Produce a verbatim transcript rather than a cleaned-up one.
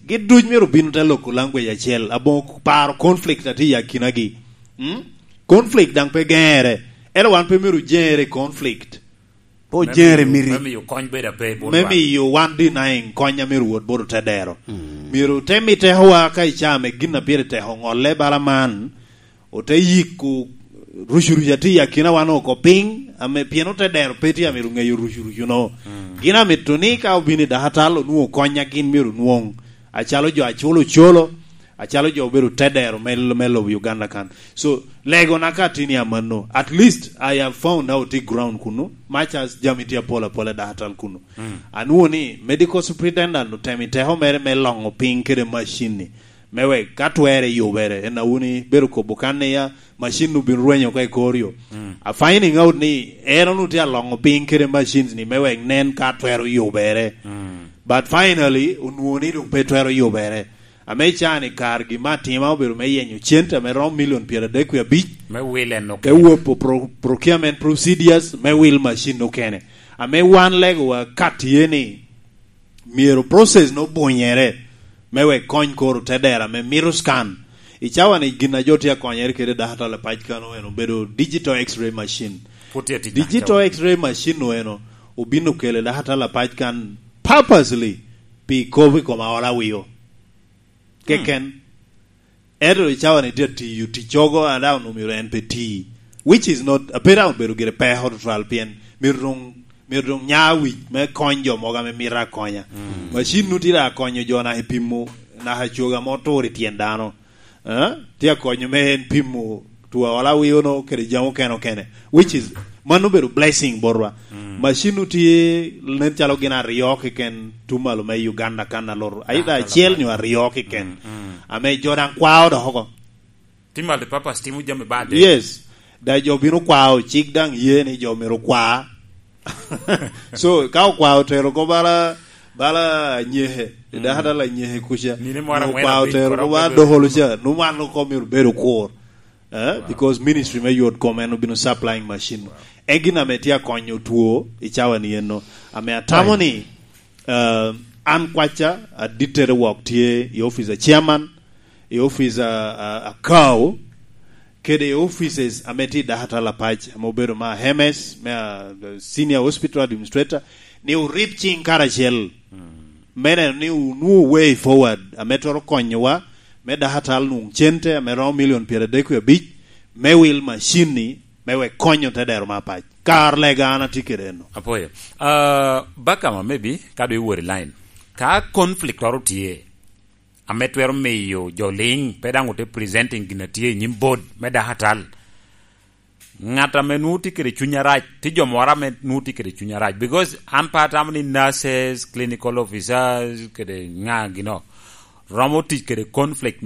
Gin duc myero obin te loko language acel, aboŋo paro conflict a tye i akinagi. Mm? Conflict daŋ pe geŋere. Ento wan pe myero ojeŋere i conflict. Pe ojeŋere miti. Me miyo kony bedo ape i botwa. Me miyo wan denying kony a myero wot bot otedero. Mm. Myero te mi tekowa ka icaa me gin a pire teko ŋolle bala man, ote yiko rucurucu a tye i akina wan oko piny, ame pien otedero pe tye amito ŋeyo rucurucu-no. Mm. Gin amito ni ka obino i dakatal onwoŋo kony a gin myero onwoŋ. Acalo jo a culo ocolo, acalo jo obedo te dero me, me lobo Uganda kan. So, legona ka tye ni amanno, at least I have found out i ground kunu, much as jami tye apol apol i dakatal kunu. Mm. Anwoŋo ni medical superintendent otemo i teko mere me loŋo piny kede macin-ni, me wek ka twerre yubere, en a wun ibedo kobo kan ni ya, macin obin rwenyo oko i kor yo. Mm. A finding out ni en onwoŋo tye aloŋo piny kede machines ni me wek nen ka twero yubere. Mm. But finally, onwoŋo ni doŋ pe twero yubere. Ame can i kar gin me atima obedo me yenyo cente ame romo milion pyeradek wie abic. Me wil en okene. Te wopo pro-, procurement procedures me wil macin okene. Ame wan legowa ka tye ni myero process no bunyere me wek kony koro te dera me mito scan. I cawa ni gin a jo tye akonyere kede dakatal apac kan eno obedo digital x-ray machine. Pwod tye tic. Digital x-ray machine no eno obin okele dakatal apac kan purposely pi kobo i kom aola wio. Keken. Hmm. Ento i cawa ni tye atiyo ticcogo a daŋ omyero en pe ti. Which is not, a pe daŋ obedo gire peko tutwal pien myero doŋ, myero doŋ nya wic me kony jo mogo ame mito akonya. Mm. Macin nu tye daŋ akonyo jo naka i pimo, naka coga mo tur i tyen dano. Eh? Tye akonyo me en pimo two aola wio no kede jami okene okene. Which is, mano obedo blessing botwa. Mm. Macin nu tye nen calo gin aryo keken tumalu me Uganda kan alor. Aida acel nyo aryo keken. Mm, mm. Ame jo daŋ kwao dok oko. Ti multipurpose timo jami bade. Yes. Da jo bino kwao, cik daŋ ye ni jo myero kwa. So, ka okwao otero ko bala, bala nyeke, mm, daka dala nyeke kuca. Nino moro angwen okwao abic otero ko bala dokolo ca, nu wan oko myero bedo kur. Eh? Wow. Because ministry me yot kom en obino supplying machine. Wow. En gin ame tye akonyo two i cawa ni eno. Ame atamo ni, eh, an kwaca, adittere wok tye i office a chairman, i office a, a, a Kao, kede i offices ame tye i dakatal apac, ame obedo ma Hemes, me a, Senior Hospital Administrator, ni orib cing karacel. Mm. Me neno ni onwoŋo way forward, ame twero konyowa, me dakatal nwoŋ cente, ame romo milion pyeradek wie abic, me wil macin-ni, me wek konyo te dero me apac. Kar lega an atye kede eno. Apoyo. Ah, Bakama, maybe, ka dwe iwor i line. Ka conflict oro tye, ame twero miyo jo liŋ pe daŋ ote presenting gin a tye i nyim board me dakatal. Ŋat ame nwoŋo tye kede cuny arac, tye jo moro ame nwoŋo tye kede cuny arac. Because an pe atamo ni nurses, clinical officers, kede ŋa gino, romo tic kede conflict